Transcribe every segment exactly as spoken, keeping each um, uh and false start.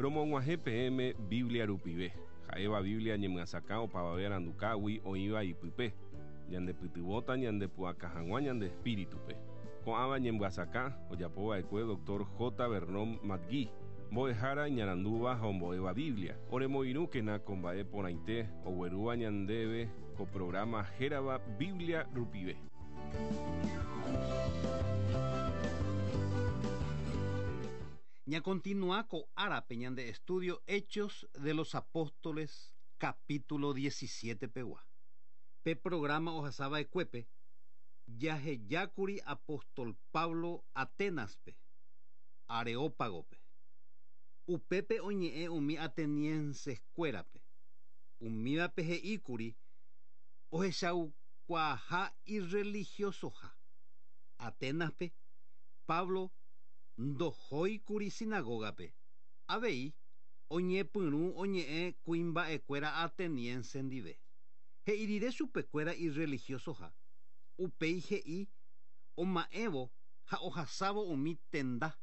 Romog̃uahẽ peẽme Biblia rupive. Ha'éva Biblia ñemyasakã opavave arandukágui oĩva ipype. Ñandepytyvõta ñandepu'aka hag̃ua ñande espíritupe. Ko'ãva ñemyasakã ojapova'ekue doctor J. Vernon McGee, mbo'ehára iñarandúva ha ombo'éva Biblia. Oremoirũkena ko mba'e porãite oguerúva ñandéve ko programa hérava Biblia rupive. Ñakontinua ko árape ñande estudio Hechos de los Apóstoles capítulo diecisiete pegua. Pe programa ohasava'ekuépe jahejákuri apóstol Pablo Atenaspe, Areópagope. Upépe oñe'ẽ umi atenienseskuérape. Umívape he'íkuri ohechaukuaaha irreligiosoha. Atenaspe, Pablo ndohóikuri sinagogape. Avei oñepyrũ oñe'ẽ kuimba'ekuéra ateniense ndive. He'irire chupekuéra irreligiosoha. Upéi he'i oma'ẽvo ha ohasávo umi tenda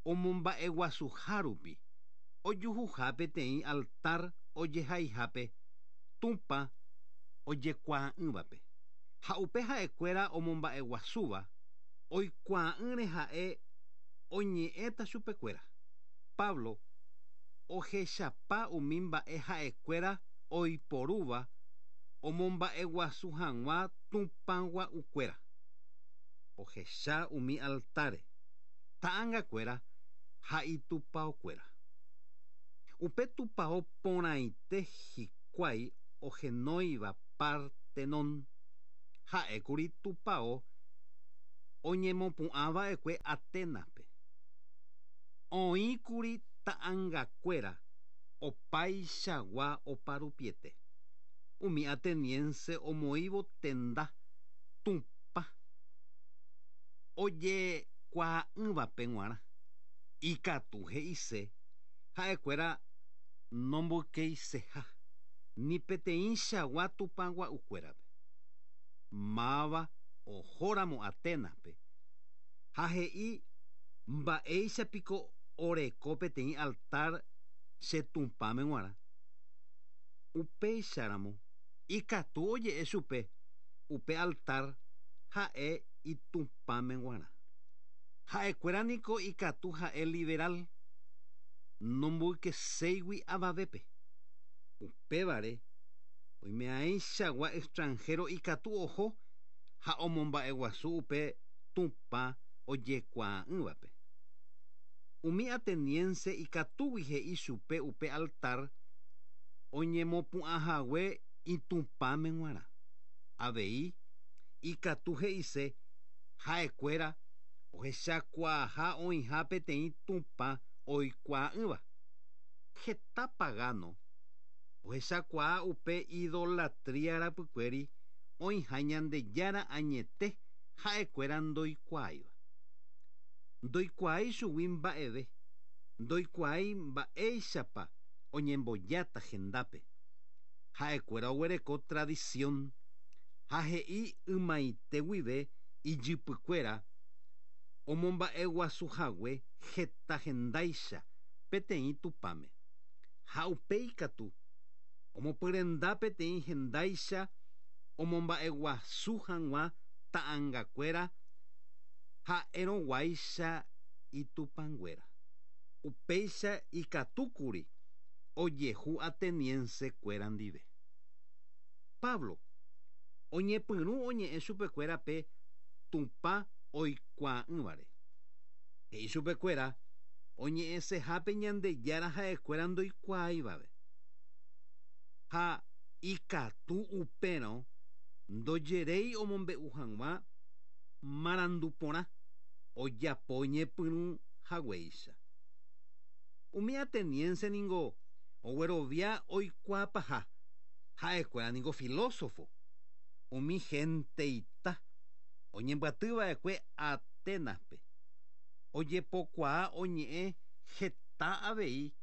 omomba'eguasuha ojuhuha peteĩ altar ojehaihápe Tupã ojekuaa'ỹvape. Ha upe ha'ekuéra omomba'eguasúva oikuaa'ỹre ha'e oñe'ẽta chupekuéra. Pablo ohechapa umi mba'e ha'ekuéra oiporúva omomba'eguasu hag̃ua Tupãgua'ukuéra. Ohecha umi altare, ta'angakuéra ha itupãokuéra. Upe tupão porãite hikuái ohenóiva Partenon. Ha'ékuri tupão oñemopu'ãva'ekue Atenaspe. Oĩkuri ta'angakuéra opaichagua oparupiete. Umi ateniense omoĩvo tenda Tupã ojekuaa'ỹvape g̃uarã. Ikatu he'ise ha'ekuéra nomboykeiseha ni peteĩchagua Tupãgua'ukuérape. Máva ohóramo Atenaspe ha he'i mba'éichapiko oreko peteĩ altar che Tupãme g̃uarã. Upéicharamo ikatu oje'e chupe upe altar ha'e itupãme g̃uarã. Ha'ekuéra niko ikatu ha'e liberal nomboykeséigui avavépe. Upévare oime'ãichagua extranjero ikatu oho ha omomba'eguasu upe Tupã ojekuaa'ỹvape. Umi ateniense ikatúgui he'i chupe upe altar oñemopu'ãhague itupãme g̃uarã. Avei ikatu he'ise ha'ekuéra ohechakuaaha oĩha peteĩ Tupã oikuaa'ỹva. Heta pagano ohechakuaa upe idolatría rapykuéri oĩha Ñandejára añete ha'ekuéra ndoikuaáiva. Ndoikuaái chugui mba'eve, ndoikuaái mba'éichapa oñembojáta hendápe. Ha'ekuéra oguereko tradición ha he'i ymaite guive ijypykuéra omomba'eguasuhague heta hendáicha peteĩ Tupãme. Ha upéi katu omopyrenda peteĩ hendáicha omomba'eguasu hag̃ua ta'angakuéra ha'erõguáicha itupãnguéra. Upéicha ikatúkuri ojehu ateniensekuéra ndive. Pablo oñepyrũ oñe'ẽ chupekuéra pe Tupã oikuaa'ỹvare. He'i chupekuéra oñe'ẽsehápe Ñandejára ha'ekuéra ndoikuaáivape. Ha ikatu upérõ ndojeréi omombe'u hag̃ua marandu porã ojapo ñepyrũ haguéicha. Umi ateniense ningo oguerovia oikuaapaha ha'ekuéra ningo filósofo. Umi genteita oñembyatyva'ekue Atenaspe ojepokuaa oñe'ẽ heta avei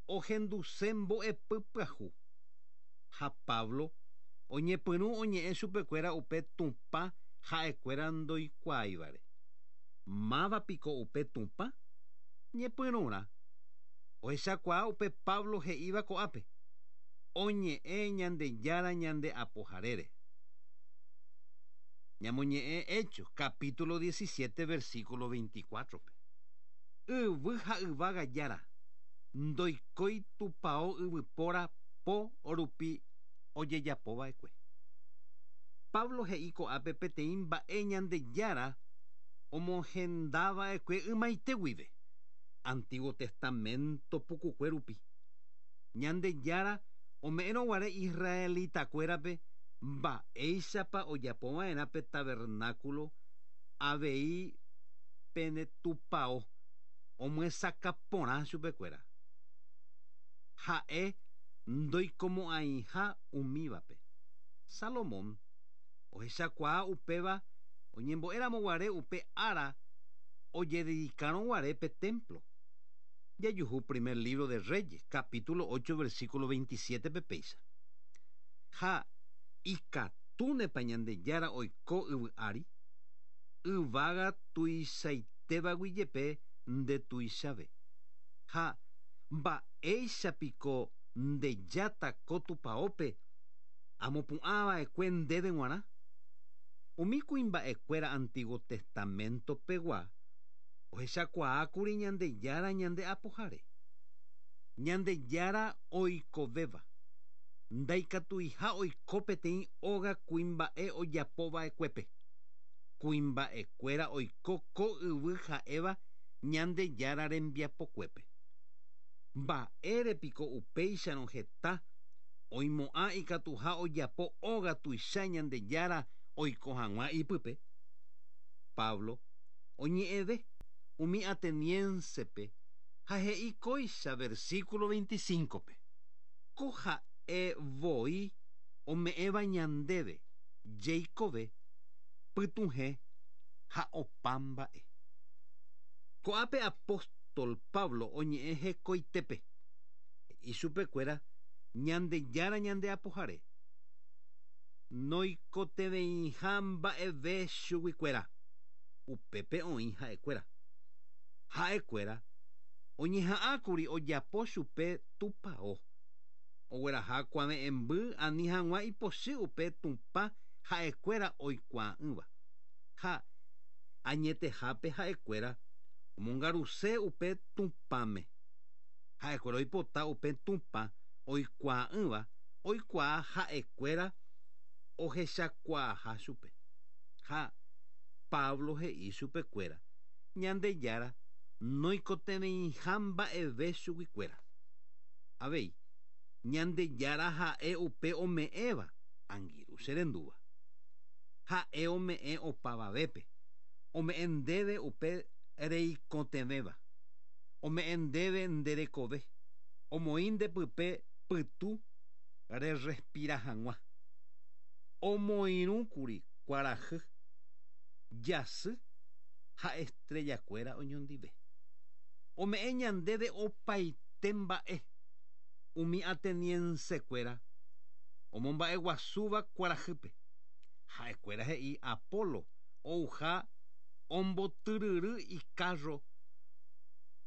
ohenduse mbo'epy pyahu. Ha Pablo oñepyrũ oñe'ẽ chupekuéra upe Tupã ha'ekuéra ndoikuaáivare. Mávapiko upe Tupã? Ñepyrũrã Ohechakuaa upe Pablo he'íva ko'ápe. Oñe'ẽ Ñandejára ñande apoharére. Ñamoñe'ẽ Hechos, capítulo diecisiete, versículo veinticuatro. Yvy ha yvága jára, ndoikói tupão yvypóra po rupi ojejapova'ekue. Pablo he'i ko'ápe peteĩ mba'e Ñandejára omohendava'ekue ymaite guive, Antiguo Testamento pukukue rupi. Ñandejára ome'ẽrõguare israelitakuérape mba'éichapa ojapova'erã pe tabernáculo avei pene tupão omyesakã porã chupekuéra. Ha'e ndoikomo'ãiha umívape. Salomón ohechakuaa upéva oñembo'éramoguare upe ára ojededicarõguare pe templo. Jajuhu primer libro de Reyes, capítulo ocho, versículo veintisiete péicha. Ha ikatúnepa Ñandejára oiko yvy ári, yvága tuichaitévagui jepe ndetuichave. Ha mba'éichapiko ndejáta ko tupãópe amopu'ãva'ekue ndéve g̃uarã. Umi kuimba'ekuéra Antiguo Testamento pegua ohechakuaákuri Ñandejára ñande apohare. Ñandejára oikovéva. Ndaikatuiha oiko peteĩ óga kuimba'e ojapova'ekuépe. Kuimba'ekuéra oiko ko yvy ha'éva Ñandejára rembiapokuépe. Mba'érepiko upéicharõ heta oimo'ã ikatuha ojapo óga tuicha Ñandejára oiko hag̃ua ipype. Pablo oñe'ẽve umi ateniensepe ha he'i kóicha versículo veinticinco-pe. Ko ha'e voi ome'ẽva ñandéve jeikove pytũhe ha opa mba'e. Ko'ápe apóstol Pablo oñe'ẽ hekoitépe. He'i chupekuéra Ñandejára ñande apohare. Noikotevẽiha mba'eve chuguikuéra. Upépe oĩ ha'ekuéra. Ha'ekuéra oñeha'ãkuri ojapo chupe tupão. Ogueraha kuave'ẽmby ani hag̃ua ipochy upe Tupã ha'ekuéra oikuaa'ỹva. Ha añetehápe ha'ekuéra omongaruse upe Tupãme. Ha'ekuéra oipota upe Tupã oikuaa'ỹva oikuaa ha'ekuéra ohechakuaaha chupe. Ha Pablo he'i chupekuéra Ñandejára noikotevẽiha mba'eve chuguikuéra. Avei Ñandejára ha'e upe ome'ẽva angirũ che rendúva. Ha'e ome'ẽ opavavépe, ome'ẽ ndéve upe reikotevẽva, ome'ẽ ndéve nderekove, omoĩ ndepype pytu rerespira hag̃ua. Omoirũkuri kuarahy, jasy ha estrellakuéra oñondive. Ome'ẽ ñandéve opaite mba'e umi ateniensekuéra omomba'eguasúva kuarahýpe. Ha'ekuéra he'i Apolo ouha ombotyryry icarro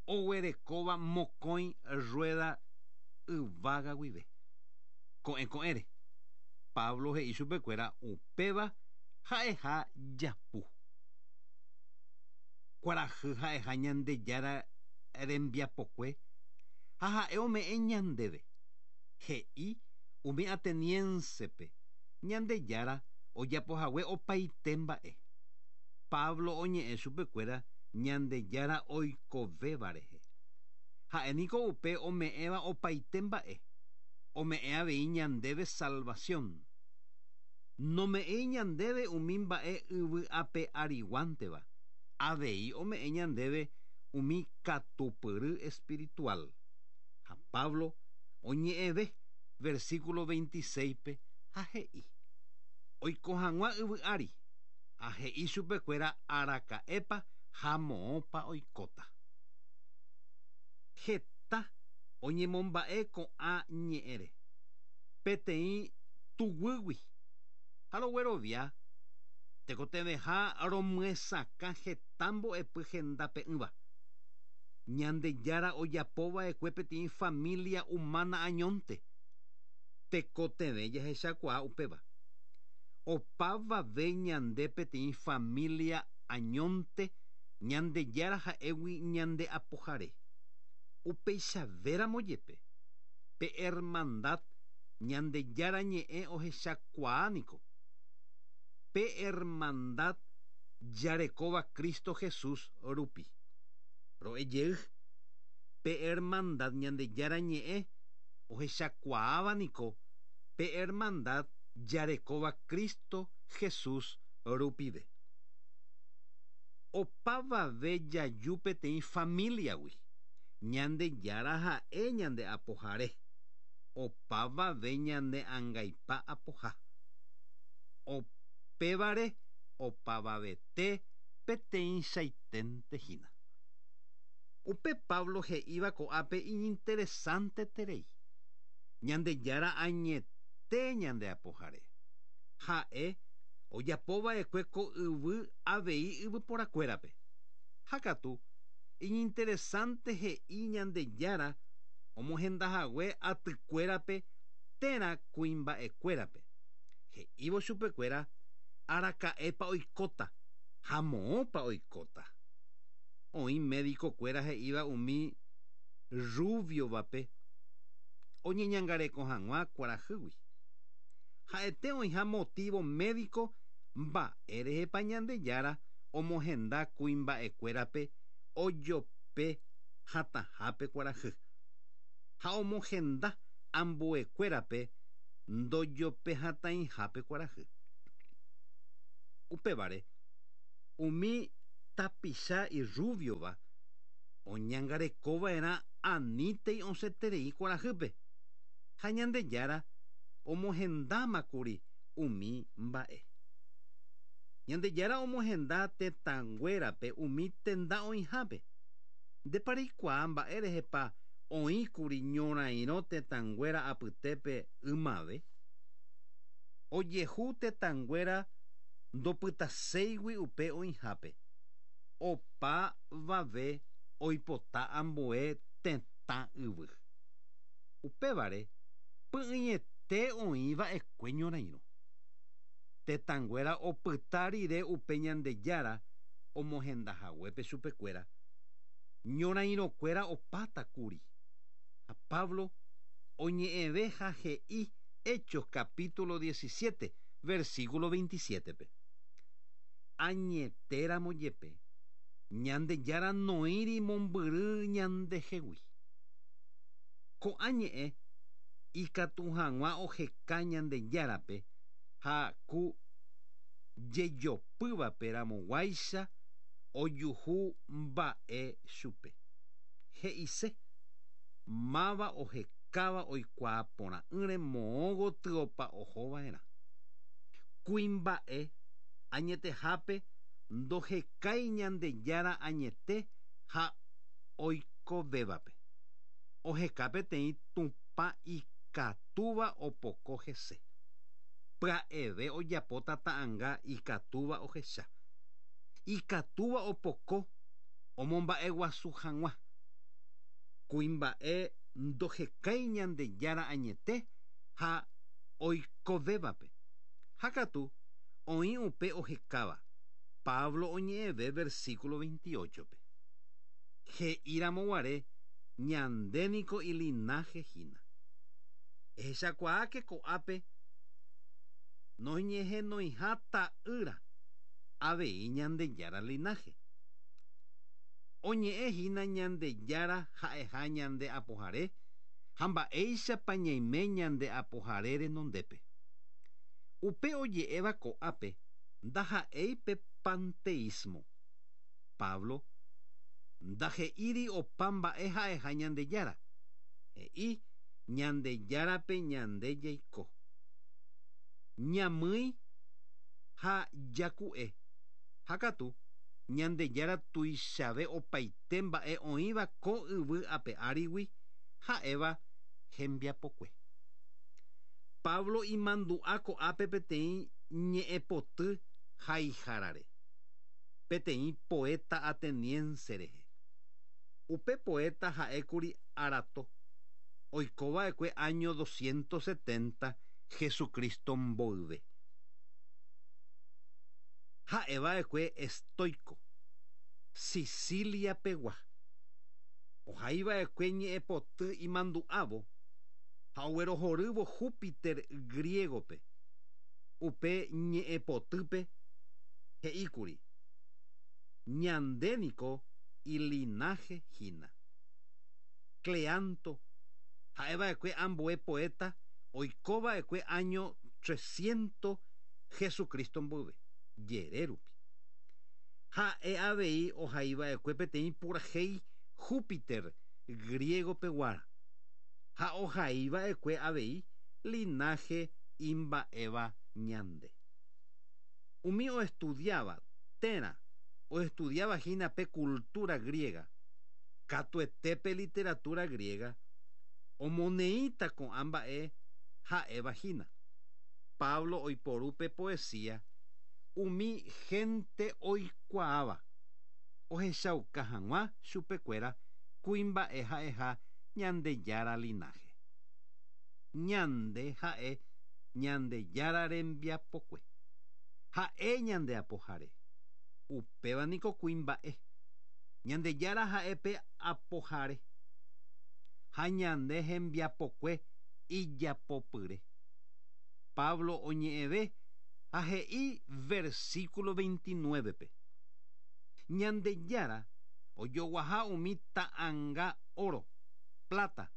oguerekóva mokõi rueda yvága guive. Ko'ẽ ko'ẽre Pablo he'i chupekuéra upéva ha'eha japu. Kuarahy ha'eha Ñandejára rembiapokue ha ha'e ome'ẽ ñandéve. He'i umi ateniensepe Ñandejára ojapohague opaite mba'e. Pablo oñe'ẽ chupekuéra Ñandejára oikovéva rehe. Ha'éniko upe ome'ẽva opaite mba'e. Ome'ẽ avei ñandéve salvación. Nome'ẽi ñandéve umi mba'e yvy ape ariguánteva. Avei ome'ẽ ñandéve umi katupyry espiritual. Ha Pablo oñe'ẽve versículo veintiséis-pe ha he'i. Oiko hag̃ua yvy ári ha he'i chupekuéra araka'épa ha moõpa oikóta. Heta oñemomba'e ko'ã ñe'ẽre. Peteĩ tuguýgui ha roguerovia tekotevẽha romyesakã heta mbo'epy hendape'ỹva. Ñandejára ojapova'ekue peteĩ familia humana añónte. Tekotevẽ jahechakuaa upéva. Opavave ñande peteĩ familia añónte Ñandejára ha'égui ñande apohare. Upeichavéramo jepe pe hermandad Ñandejára ñe'ẽ ohechakuaániko. Pe hermandad jarekóva Cristo Jesús rupi. Ro'ejey pe hermandad Ñandejára ñe'ẽ ohechakuaávaniko pe hermandad jarekóva Cristo Jesús rupive. Opavave jaju peteĩ familiagui. Ñandejára ha'e ñande apohare. Opavave ñande angaipa apoha. Opévare opavavete peteĩchaitente hína. Upe Pablo he'íva ko'ápe iñinteresanteterei. Ñandejára añete ñande apohare. Ha'e ojapova'ekue ko yvy avei yvyporakuérape. Ha katu iñinteresante he'i Ñandejára omohendahague atykuérape térã kuimba'ekuérape. He'ívo chupekuéra araka'épa oikóta ha moõpa oikóta. Oĩ médico-kuéra he'íva umi rubiovape oñeñangareko hag̃ua kuarahýgui. Ha'ete oĩha motivo médico mba'érehepa Ñandejára omohenda kuimba'ekuérape ojope hatãhápe kuarahy. Ha omohenda ambuekuérape ndojopehatãihápe kuarahy. Upévare umi tapicha irrubiova oñangarekova'erã anítei osẽterei kuarahýpe. Ha Ñandejára omohendámakuri umi mba'e. Ñandejára omohenda tetãnguérape umi tenda oĩhápe. Ndepareikuaa mba'érehepa oĩkuri ñorairõ tetãnguéra apytépe ymave. Ojehu tetãnguéra ndopytaséigui upe oĩhápe. Opavave oipota ambue tetã yvy. Upévare py'ỹiete oĩva'ekue ñorairõ. Tetãnguéra opyta rire upe Ñandejára omohendahaguépe chupekuéra. Ñorairõkuéra opátakuri. Ha Pablo oñe'ẽve ha he'i Hechos capítulo diecisiete, versículo veintisiete-pe. Añetéramo jepe Ñandejára noĩri mombyry ñandehegui. Ko'ã ñe'ẽ ikatu hag̃ua oheka Ñandejárape ha ku jejopývape ramoguáicha ojuhu mba'e chupe. He'ise máva ohekáva oikuaa porã'ỹre moõ gotyopa ohova'erã. Kuimba'e añetehápe ndohekái Ñandejára añete ha oikovévape. Oheka peteĩ Tupã ikatúva opoko hese. Pya'eve ojapóta ta'ãnga ikatúva ohecha. Ikatúva opoko omomba'eguasu hag̃ua. Kuimba'e ndohekái Ñandejára añete ha oikovévape. Ha katu oĩ upe ohekáva. Pablo oñe'ẽve versículo veintiocho-pe. He'íramoguare ñandéniko ilinaje hína. Ehechakuaáke ko'ápe noñehenoiha ta'ýra avei Ñandejára linaje. Oñe'ẽ hína Ñandejára ha'eha ñande apohare ha mba'éichapa ñaime ñande apohare renondépe. Upe oje'éva ko'ápe ndaha'éi pe panteísmo. Pablo ndahe'íri opa mba'e ha'eha Ñandejára. He'i Ñandejárape ñande jaiko. Ñamýi ha jaku'e. Ha katu Ñandejára tuichave opaite mba'e oĩva ko yvy ape árigui ha'éva hembiapokue. Pablo imandu'a ko'ápe peteĩ ñe'ẽpoty haihárare. Peteĩ poeta ateniense rehe. Upe poeta ha'ékuri Arato oikova'ekue año doscientos setenta Jesucristo mboyve. Ha'eva'ekue estoico, Sicilia pegua. Ohaiva'ekue ñe'ẽpoty imandu'ávo ha oguerohorývo Júpiter griegope. Upe ñe'ẽpotýpe he'íkuri ñandéniko ilinaje hína. Cleanto ha'eva'ekue ambue poeta oikova'ekue año trescientos Jesucristo mboyve jere rupi. Ha'e avei ohaiva'ekue peteĩ purahéi Júpiter griego peguára ha ohaiva'ekue avei linaje imba'éva ñande. Umi oestudiaba térã oestudiaba hína pe cultura griega, katuetépe literatura griega, omoneíta ko'ã mba'e ha'éva hína. Pablo oiporu pe poesía umi gente oikuaáva ohechauka hag̃ua chupekuéra kuimba'e ha'eha Ñandejára linaje. Ñande ha'e Ñandejára rembiapokue. Ha'e ñande apohare. Upéva niko kuimba'e. Ñandejára ha'e pe apohare. Ha ñande hembiapokue ijapopyre. Pablo oñe'ẽve ha he'i versículo veintinueve-pe. Ñandejára ojoguaha umi ta'anga oro, plata,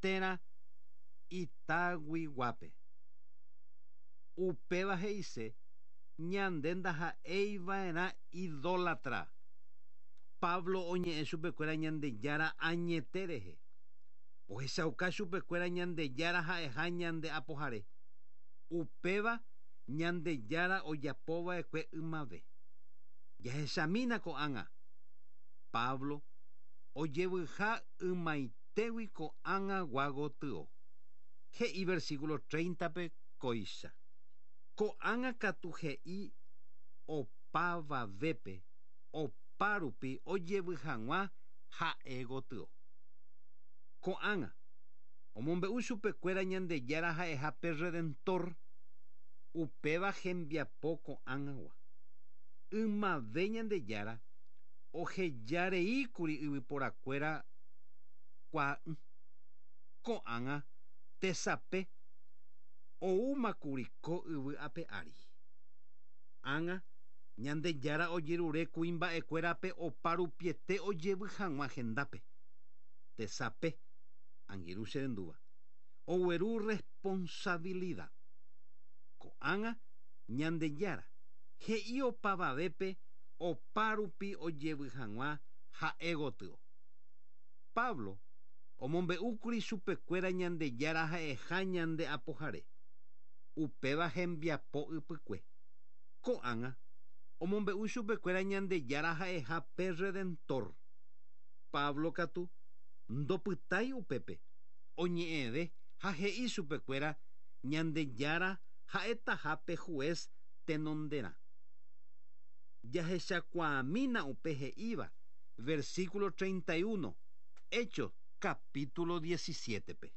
térã itaguiguápe. Upéva he'ise ñande ndaha'eiva'erã idólatra. Pablo oñe'ẽ chupekuéra Ñandejára añete rehe. Ohechauka chupekuéra Ñandejára ha'eha ñande apohare. Upéva Ñandejára ojapova'ekue ymave. Jahechamína ko'ág̃a. Pablo ojevyha ymaitégui ko'ág̃a gotyo. He'i versículo treinta-pe kóicha. Ko'ág̃a katu he'i opavavépe opárupi ojevy hag̃ua ha'e gotyo. Ko'ág̃a omombe'u chupekuéra Ñandejára ha'eha pe Redentor, upéva hembiapo ko'ág̃agua. Ymave Ñandejára ohejareíkuri yvyporakuéra kuaa'ỹ. Ko'ág̃a tesape oúmakuri ko yvy ape ári. Ág̃a Ñandejára ojerure kuimba'ekuérape oparupiete ojevy hag̃ua hendápe. Tesape, angirũ che rendúva, ogueru responsabilidad. Ko'ág̃a Ñandejára he'i opavavépe opárupi ojevy hag̃ua ha'e gotyo. Pablo omombe'úkuri chupekuéra Ñandejára ha'eha ñande apohare. Upéva hembiapo ypykue. Ko'ág̃a omombe'u chupekuéra Ñandejára ha'eha pe Redentor. Pablo katu ndopytái upépe oñe'ẽve ha he'i chupekuéra Ñandejára ha'etaha pe juez tenonderã. Jahechakuaamína upe he'íva versículo treinta y uno, Hechos capítulo diecisiete-pe.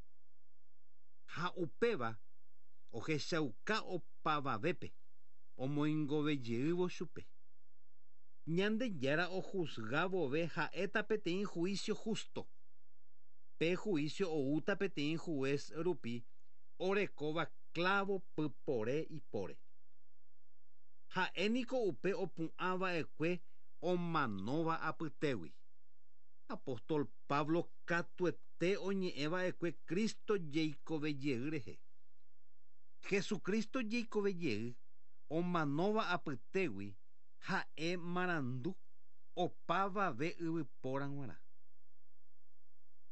Ha upéva ohechauka opavavépe omoingovejeývo chupe. Ñandejára ojuzgavove ha'éta peteĩ juicio justo. Pe juicio oúta peteĩ juez rupi orekóva clavo pypore ipóre. Ha'éniko upe opu'ãva'ekue omanóva apytégui. Apóstol Pablo katuete oñe'ẽva'ekue Cristo jeikovejey rehe. Jesucristo jeikovejey omanóva apytégui ha'e marandu opavave yvypóra g̃uarã.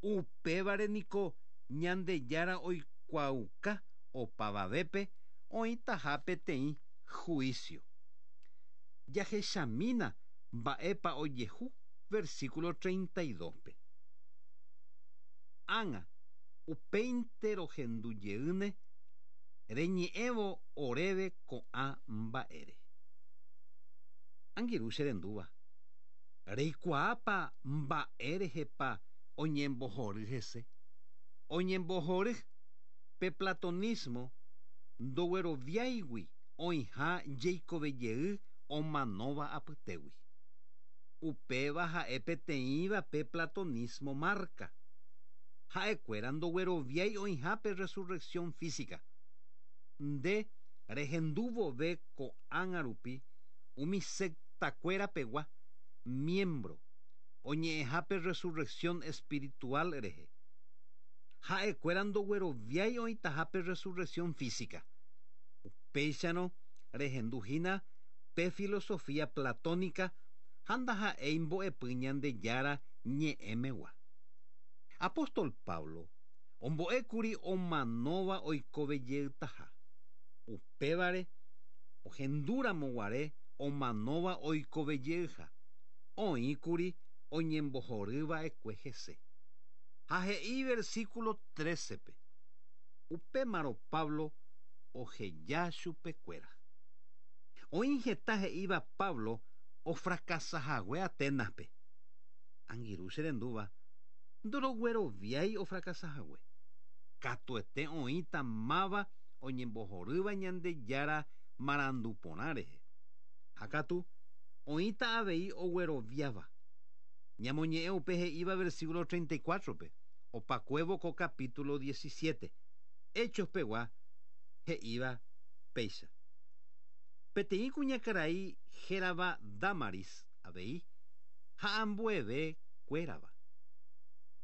Upévare niko Ñandejára oikuaauka opavavépe oĩtaha peteĩ juicio. Jahechamína mba'épa ojehu versículo treinta y dos-pe. Ág̃a upéinte rohendujeýne reñe'ẽvo oréve ko'ã mba'ére. Angirũ che rendúva. Reikuaápa mba'érehepa oñembohory hese. Oñembohory pe platonismo ndogueroviáigui oĩha jeikovejey omanóva apytégui. Upéva ha'e peteĩva pe platonismo marca. Ha'ekuéra ndogueroviái oĩha pe resurrección física. Nde rehendúvove ko'ág̃a rupi umi sectakuéra pegua miembro oñe'ẽha pe resurrección espiritual rehe. Ha'ekuéra ndogueroviái oĩtaha pe resurrección física. Upéicharõ rehenduhína pe filosofía platónica ha ndaha'éi mbo'epy Ñandejára ñe'ẽmegua. Apóstol Pablo ombo'ékuri omanóva oikovejeytaha. Upévare ohendúramoguare omanóva oikovejeyha oĩkuri oñembohoryva'ekue hese. Ha he'i versículo trece-pe. Upémarõ Pablo oheja chupekuéra. Oĩ heta he'íva Pablo ofrakasahague Atenas-pe. Angirũ cherendúva ndorogueroviái ofrakasahague. Katuete oĩta máva oñembohorýva Ñandejára marandu porã rehe. Ha katu oĩta avei ogueroviáva. Ñamoñe'ẽ upe he'íva versículo treinta y cuatro-pe, opakuévo ko capítulo diecisiete. Hechos pegua he'íva péicha. Peteĩ kuñakarai hérava Damaris avei ha ambueve kuérava.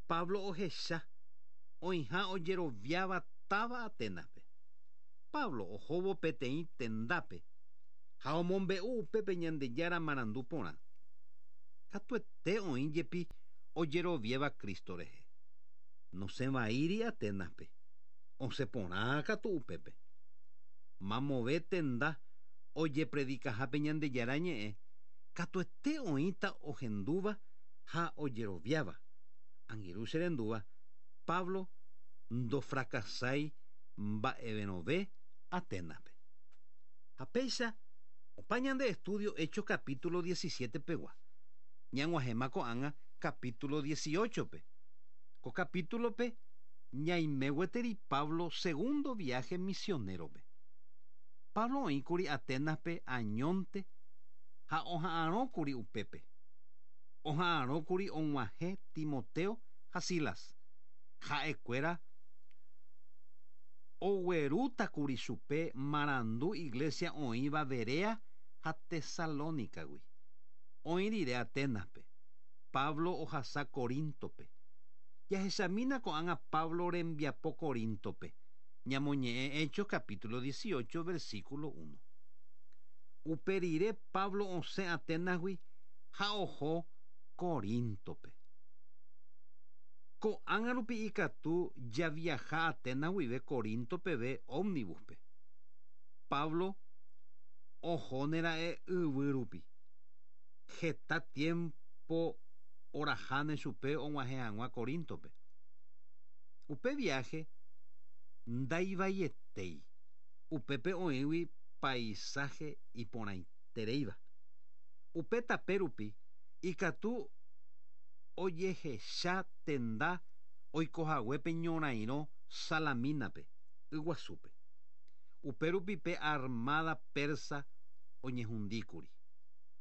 Pablo ohecha oĩha ojeroviáva táva Atenas-pe. Pablo ohóvo peteĩ tendápe ha omombe'u upépe Ñandejára marandu porã. Katuete oĩ jepi ojeroviáva Cristo rehe. Nosẽvaíri Atenas-pe. Osẽ porã katu upépe. Mamove tenda ojepredikahápe Ñandejára ñe'ẽ katuete oĩta ohendúva ha ojeroviáva. Angirũ cherendúva Pablo ndofrakasái mba'everõve Atenas-pe. Ha péicha opa ñande estudio Hechos capítulo diecisiete pegua. Ñag̃uahẽma ko'ág̃a capítulo dieciocho-pe. Ko capítulo-pe ñaime gueteri Pablo segundo viaje misionero-pe. Pablo oĩkuri Atenas-pe añónte ha oha'arõkuri upépe. Oha'arõkuri og̃uahẽ Timoteo ha Silas. Ha'ekuéra oguerútakuri chupe marandu iglesia oĩva Berea ha Tesalónicagui. Oĩ rire Atenas-pe. Pablo ohasa Corinto-pe. Jahechamína ko'ág̃a Pablo rembiapo Corinto-pe. Ñamoñe'ẽ Hechos capítulo dieciocho versículo uno. Upe rire Pablo osẽ Atenas-gui ha oho Corinto-pe. Ko'ág̃a rupi ikatu javiaha Atenas guive Corinto peve ómnibus-pe. Pablo ohónera'e yvy rupi. Heta tiempo oraháne chupe og̃uahẽ hag̃ua Corinto-pe. Upe viaje ndaivaietei. Upépe oĩgui paisaje iporãitereíva. Upe tape rupi ikatu ojehecha tenda oikohaguépe ñorairõ Salamina-pe, Yguasúpe. Upe rupi pe armada persa oñehundíkuri.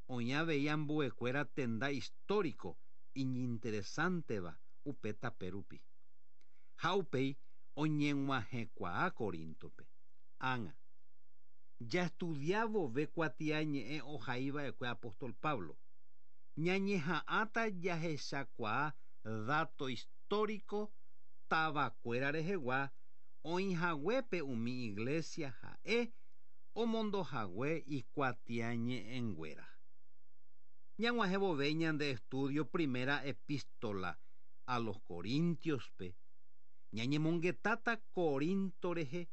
Oĩ avei ambuekuéra tenda histórico iñinteresánteva upe tape rupi. Ha upéi oñeg̃uahẽkuaa Corinto-pe. Ág̃a. Jaestudiávove kuatiañe'ẽ ohaiva'ekue apóstol Pablo. Ñañeha'ãta jahechakuaa dato histórico tavakuéra rehegua oĩhaguépe umi iglesia ha'e omondohague ikuatiañe'ẽnguéra. Ñag̃uahẽvove ñande estudio primera epístola a los Corintios-pe. Ñañemongetáta Corinto rehe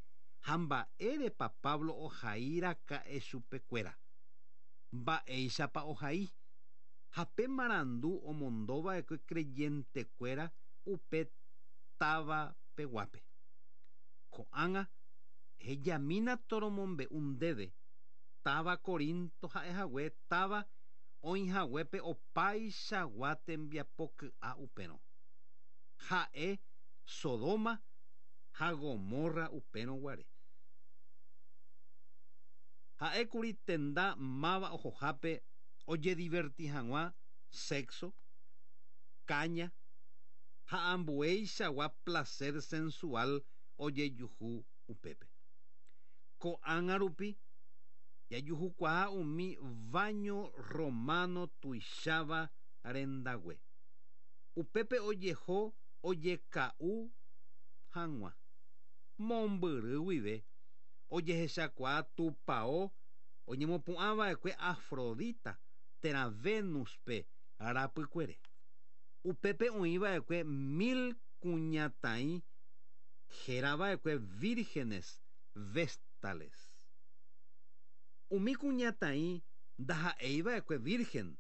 ha mba'érepa Pablo ohairaka'e chupekuéra. Mba'éichapa ohai ha pe marandu omondova'ekue creyentekuéra upe táva peguápe. Ko'ág̃a hejamína toromombe'u ndéve táva Corinto ha'ehague táva oĩhaguépe opaichagua tembiapoky'a upérõ. Ha'e Sodoma ha Gomorra upérõ guare. Ha'ékuri tenda máva ohohápe ojediverti hag̃ua sexo, caña ha ambueichagua placer sensual ojejuhu upépe. Ko'ág̃a rupi jajuhukuaa umi baño romano tuicháva rendague. Upépe ojeho ojeka'u hag̃ua. Mombyry guive ojehechakuaa tupão oñemopu'ãva'ekue Afrodita térã Venuspe rapykuere. Upépe oĩva'ekue mil kuñataĩ herava'ekue vírgenes vestales. Umi kuñataĩ ndaha'eiva'ekue virgen,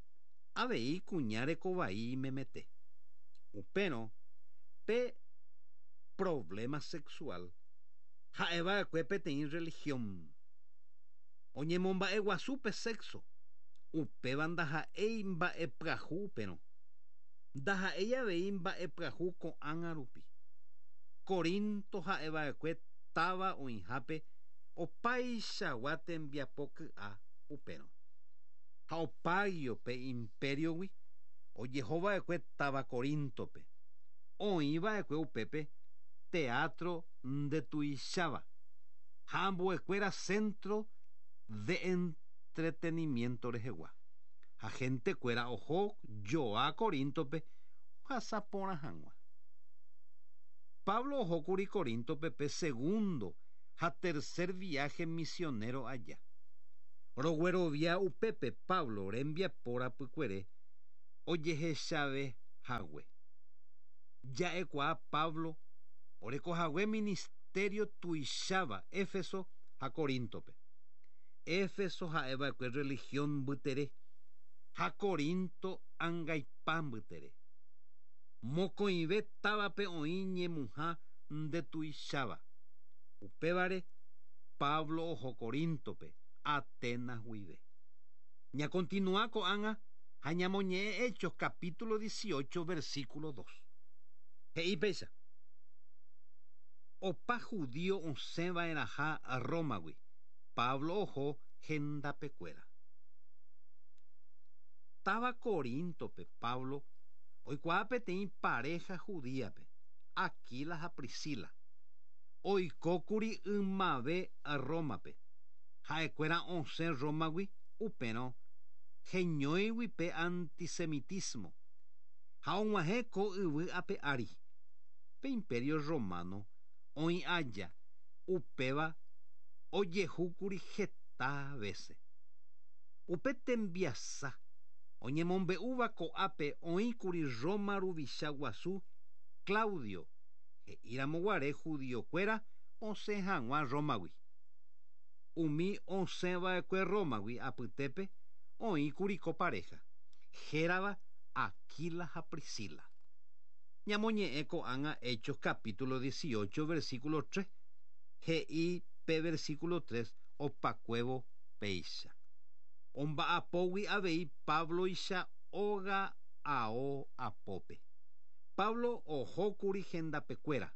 avei kuña rekovai memete. Upérõ pe problema sexual ha'eva'ekue peteĩ religión. Oñemomba'eguasu pe sexo, upéva ndaha'éi mba'epyahu upérõ. Ndaha'éi avei mba'epyahu ko'ág̃a rupi. Corinto ha'eva'ekue táva oĩhápe opaichagua tembiapoky'a upérõ. Ha opáguio pe imperiogui ojehova'ekue táva Corintope. Oĩva'ekue upépe teatro ndetuicháva ha ambuekuéra centro de entretenimiento rehegua. Ha gentekuéra oho joa Corintope ohasa porã hag̃ua. Pablo ohókuri Corintope pe segundo ha tercer viaje misionero aja. Roguerovia upépe Pablo rembiapo rapykuere ojehechave hague. Ja'ekuaa Pablo orekohague ministerio tuicháva Éfeso ha Corintope. Éfeso ha'eva'ekue religión mbytere ha Corinto angaipa mbytere. Mokõive távape oĩ ñemuha ndetuicháva. Upévare Pablo oho Corintope Atenas guive. Ñakontinua ko'ág̃a ha ñamoñe'ẽ Hechos capítulo dieciocho versículo dos. He'i péicha. Opa judío osẽva'erãha Rómagui. Pablo oho hendapekuéra. Táva Corintope Pablo oikuaa peteĩ pareja judíape, Aquila ha Priscila. Oikókuri ymave Rómape. Ha'ekuéra osẽ Rómagui upérõ heñóigui pe antisemitismo ha og̃uahẽ ko yvy ape ári. Pe imperio romano oĩ aja upéva ojehúkuri heta vece. Upe tembiasa oñemombe'úva ko'ápe oĩkuri Roma ruvicha guasu Claudio he'íramoguare judiokuéra osẽ hag̃ua Rómagui. Umi osẽva'ekue Rómagui apytépe oĩkuri ko pareja hérava Aquila ha Priscila. Ñamoñe'ẽ ko'ág̃a Hechos capítulo dieciocho versículo tres. He'i pe versículo tres opakuévo péicha. Omba'apógui avei Pabloicha óga ao apópe. Pablo ohókuri hendapekuéra.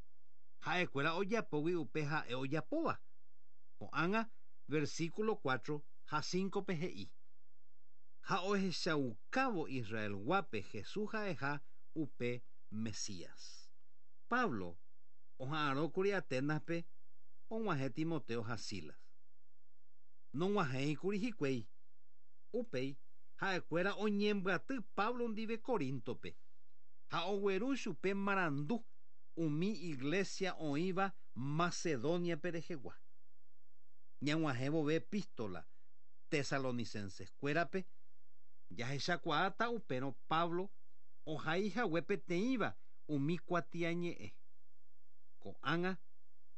Ha'ekuéra ojapógui upe ha'e ojapóva. Ko'ág̃a versículo cuatro ha cinco pe he'i. Ha ohechaukávo Israelguápe Jesús ha'eha upe Mesías. Pablo oha'arõkuri Atenaspe og̃uahẽ Timoteo ha Silas. Nog̃uahẽikuri hikuái. Upéi ha'ekuéra oñembyaty Pablo ndive Corintope ha ogueru chupe marandu umi iglesia oĩva Macedoniape rehegua. Ñag̃uahẽ vove epístola tesalonicenses-kuérape jahechakuaáta upérõ Pablo ohaihague peteĩva umi kuatiañe'ẽ. Ko'ág̃a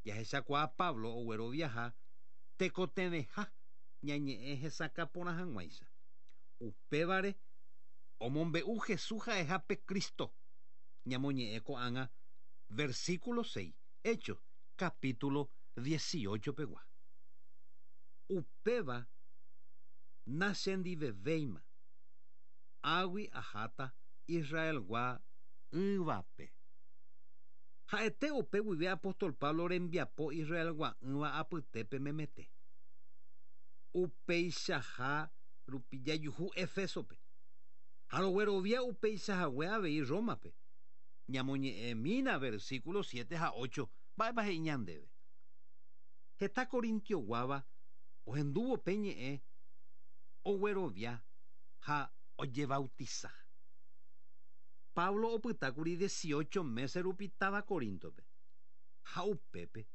jahechakuaa Pablo ogueroviaha tekotevẽha ñañe'ẽ hesakã porã hag̃uáicha. Upévare omombe'u Jesús ha'eha pe Cristo. Ñamoñe'ẽ ko'ág̃a versículo seis, Hechos capítulo dieciocho pegua. Upéva nachendivevéima. Águi ahata Israelgua ỹvape. Ha'ete upe guive apóstol Pablo rembiapo Israelgua ỹva apytépe memete. Upeichaha rupi jajuhu Efesope. Ha roguerovia upeichahague avei Rómape. Ñamoñe'ẽmína versículo siete ha ocho mba'épa he'i ñandéve. Heta Corintioguáva ohendúvo pe ñe'ẽ oguerovia ha ojebautiza. Pablo opytákuri dieciocho meses rupi táva Corintope. Ha upépe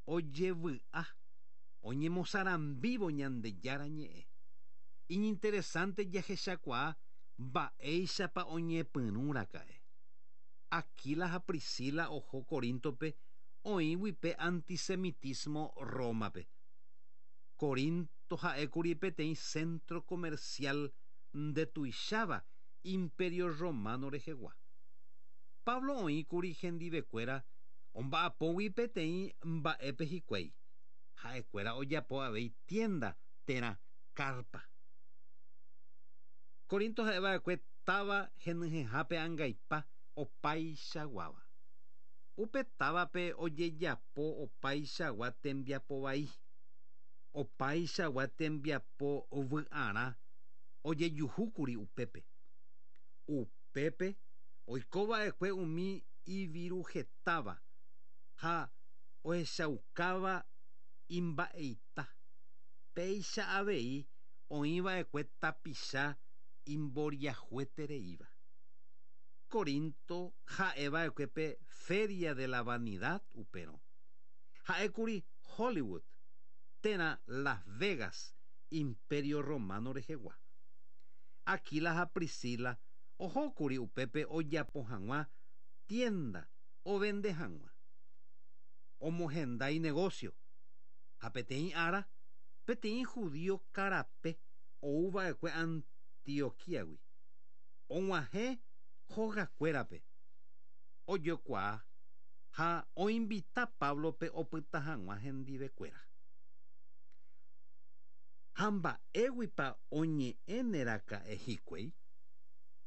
ojevy'a oñemosarambívo Ñandejára ñe'ẽ. Iñinteresante jahechakuaa mba'éichapa oñepyrũraka'e. Aquila ha Priscila oho Corintope oĩgui pe antisemitismo Rómape. Corinto ha'ékuri peteĩ centro comercial ndetuicháva Imperio Romano rehegua. Pablo oĩkuri hendivekuéra omba'apógui peteĩ mba'épe hikuái. Ha'ekuéra ojapo avei tienda térã carpa. Corinto ha'eva'ekue táva henyhẽhápe angaipa opaichaguáva. Upe távape ojejapo opaichagua tembiapo vai. Opaichagua tembiapo vy'arã ojejuhúkuri upépe. Upépe oikova'ekue umi iviruhetáva ha ohechaukáva imba'eita. Péicha avei oĩva'ekue tapicha imboriahuetereíva. Corinto ha'eva'ekue pe Feria de la Vanidad upérõ. Ha'ékuri Hollywood térã Las Vegas Imperio Romano rehegua. Aquila ha Priscila ohókuri upépe ojapo hag̃ua tienda ovende hag̃ua. Omohenda inegocio. Ha peteĩ ára peteĩ judío karape ouva'ekue Antioquíagui. Og̃uahẽ hogakuérape. Ojokuaa ha oinvita Pablope opyta hag̃ua hendivekuéra. Ha mba'éguipa oñe'ẽneraka'e hikuái.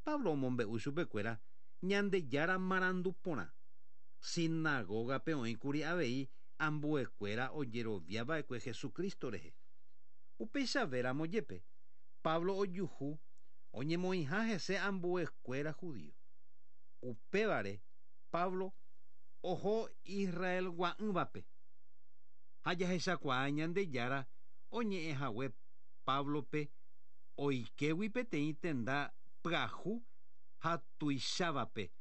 Pablo omombe'u chupekuéra Ñandejára marandu porã. Sinagógape oĩkuri avei ambuekuéra ojeroviava'ekue Jesucristo rehe. Upeichavéramo jepe Pablo ojuhu oñemoĩha hese ambuekuéra judío. Upévare Pablo oho Israelgua'ỹvape. Ha jahechakuaa Ñandejára oñe'ẽhague Pablope oikégui peteĩ tenda pyahu ha tuichávape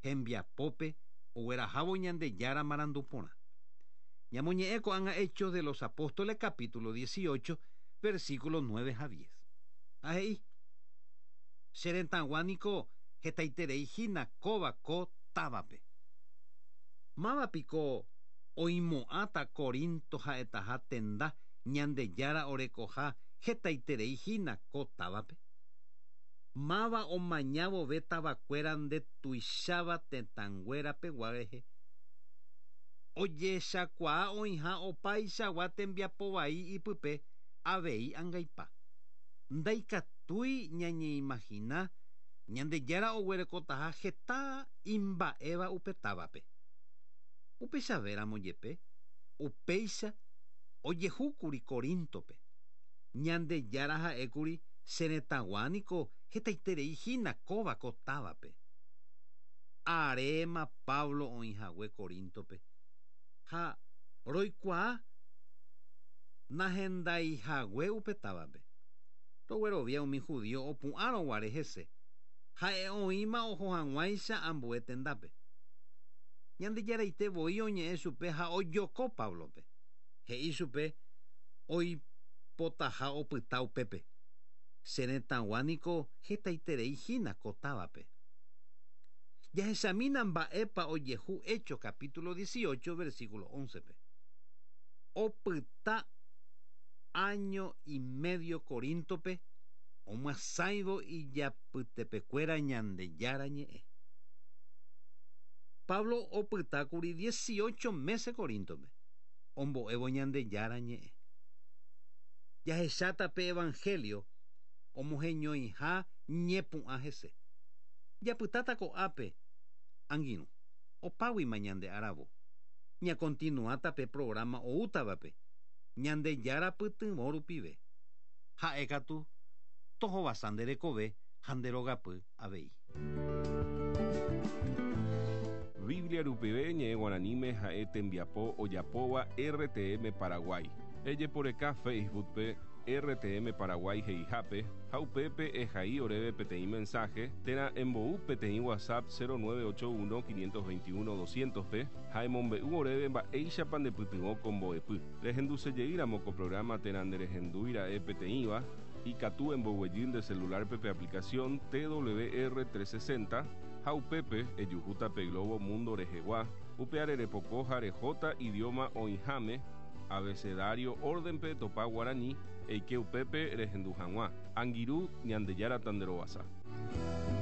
hembiapópe oguerahávo Ñandejára marandu porã. Ñamoñe'ẽ ko'ág̃a Hechos de los Apóstoles capítulo dieciocho versículo nueve ha diez. Ha he'i: Che retãgua niko hetaiterei hína kóva ko távape. Mávapiko oimo'ãta Corinto ha'etaha tenda Ñandejára orekoha hetaiterei hína ko távape. Máva omañávove tavakuéra ndetuicháva tetãnguérapegua rehe. Ojechakuaa oĩha opaichagua tembiapo vai ipype avei angaipa. Ndaikatúi ñañeimagina Ñandejára oguerekotaha heta imba'éva upe távape. Upechavéramo jepe upéicha ojehúkuri Corintope. Ñandejára ha'ékuri che retãgua niko hetaiterei hína kóva ko távape. Aréma Pablo oĩhague Corintope. Ha roikuaa nahendaihague upe távape. Roguerovia umi judío opu'ãroguare hese. Ha'e oĩma oho hag̃uáicha ambue tendápe. Ñandejaraite voi oñe'ẽ chupe ha ojoko Pablope. He'i chupe oipotaha opyta upépe. Che retãgua niko hetaiterei hína ko távape. Jahechamína mba'épa ojehu Hechos capítulo dieciocho versículo once-pe. Opyta año y medio Corintope omyasãivo ijapytepekuéra Ñandejára ñe'ẽ. Pablo opytákuri dieciocho meses Corintope ombo'évo Ñandejára ñe'ẽ. Jahecháta pe Evangelio omoheñoiha Ñepu'ã hese. Japytáta ko'ápe, angirũ, opáguima ñande aravo. Ñakontinuáta pe programa oútavape, Ñandejára pytyvõ rupive. Ha'ékatu tohovasa nde rekove ha nde rogapy avei. Biblia rupive ñe'ẽ guaraníme ha'e tembiapo ojapóva R T M Paraguay. Ejeporeka Facebook-pe R T M Paraguay he'ihápe ha upépe ehai oréve peteĩ mensaje térã embou peteĩ WhatsApp cero nueve ocho uno quinientos veintiuno doscientos-pe ha emombe'u oréve mba'éichapa ndepytyvõ ko mbo'epy. Rehendusejeýramo ko programa térã nderehendúira'e peteĩva, ikatu emboguejy nde celular-pe pe aplicación T W R trescientos sesenta ha upépe ejuhúta pe globo mundo rehegua, upe arerepoko ha rehóta idioma oĩháme abecedario orden-pe topa guarani eike upépe rehendu hag̃ua. Angirũ, Ñandejára tanderovasa.